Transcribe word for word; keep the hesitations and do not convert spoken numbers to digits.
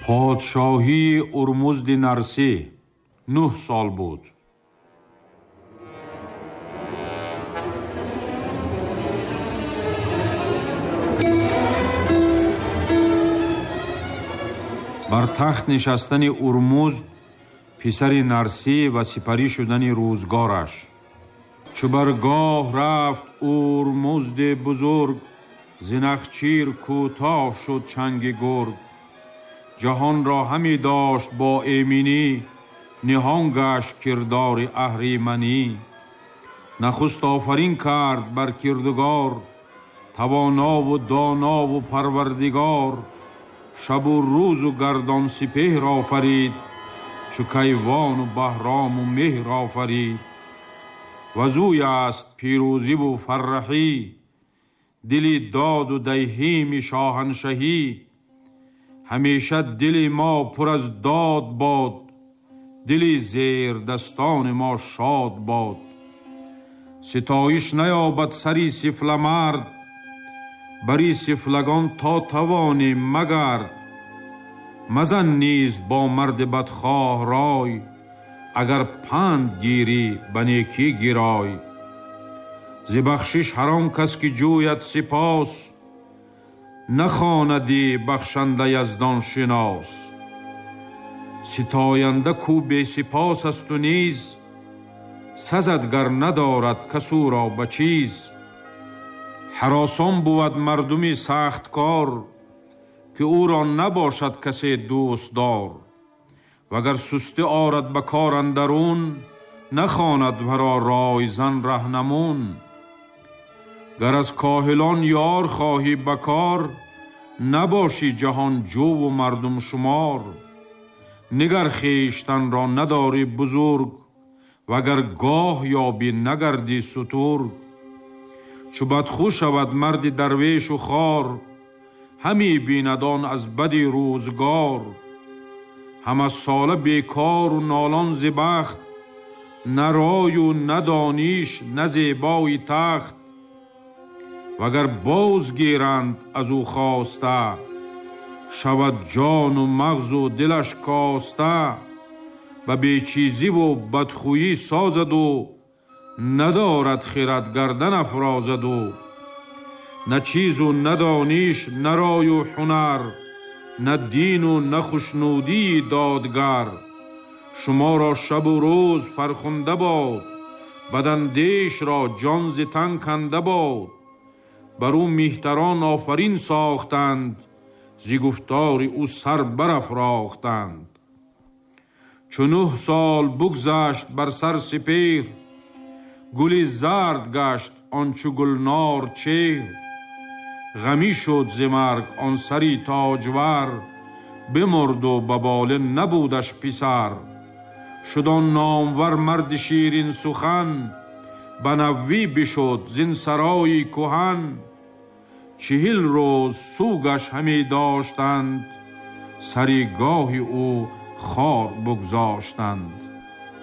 Подшоҳии Урмузди Нарсӣ нӯҳ сол буд. Бар тахт нишастани Урмузд писари Нарсӣ ва сипарӣ шудани рӯзгораш. Чу бар гоҳ рафт Урмузди бузург, зи нахчир кӯтоҳ шуд чанги гург. Ҷаҳонро ҳаме дошт бо эминӣ, ниҳон гашт кирдори аҳриманӣ. Нахуст офарин кард бар кирдугор, тавонову донову парвардигор. Шабу рӯзу гардон сипеҳр офарид, чу кайвону баҳрому меҳр офарид. Вазӯй аст пирӯзиву фарраҳӣ, дили доду диҳими шоҳаншаҳӣ. Ҳамеша дили мо пур аз дод бод, дили зердастони мо шод бод. Ситоиш наёбад сари сифламард, бари сифлагон то тавонӣ магард. Мазан низ бо марди бадхоҳ рой, агар панд гирӣ ба некӣ гирой. Зи бахшиш ҳар он кас ки ҷӯяд сипос, нахонади бахшанда яздон шинос. Ситоянда кӯ бесипос асту низ, сазад гар надорад кас ӯро ба чиз. Ҳаросон бувад мардуми сахткор, ки ӯро набошад касе дӯстдор. Вагар сустӣ орад ба кор андарун, нахонад варо ройзан раҳнамун. Гар аз коҳилон ёр хоҳӣ ба кор, набошӣ ҷаҳонҷӯву мардумшумор. Нигар хештанро надорӣ бузург, вагар гоҳ ёбӣ нагардӣ сутург. Чу бадхӯ шавад марди дарвешу хор, ҳаме бинад он аз бади рӯзгор. Ҳама сола бекору нолон зи бахт, на рою на дониш на зебои тахт. Вагар боз гиранд аз ӯ хоста, шавад ҷону мағзу дилаш коста. Ба бечизиву бадхӯӣ созаду, надорад хирад гардан афрозаду. На чизу на дониш на рою ҳунар, на дину на хушнудии додгар. Шуморо шабу рӯз фархунда бод, бадандешро ҷон зи тан канда бод. Бар ӯ меҳтарон офарин сохтанд, зи гуфтори ӯ сар барафрохтанд. Чу нӯҳ сол бугзашт бар сар сипеҳр, гули зард гашт он чу гулнор чеҳр. Ғамӣ шуд зи марг он сари тоҷвар, бимурду ба болин набудаш писар. Шуд он номвар марди ширин сухан, ба навӣ бишуд зин сарои кӯҳан. Чиҳил рӯз сӯгаш ҳаме доштанд, сари гоҳи ӯ хор бугзоштанд.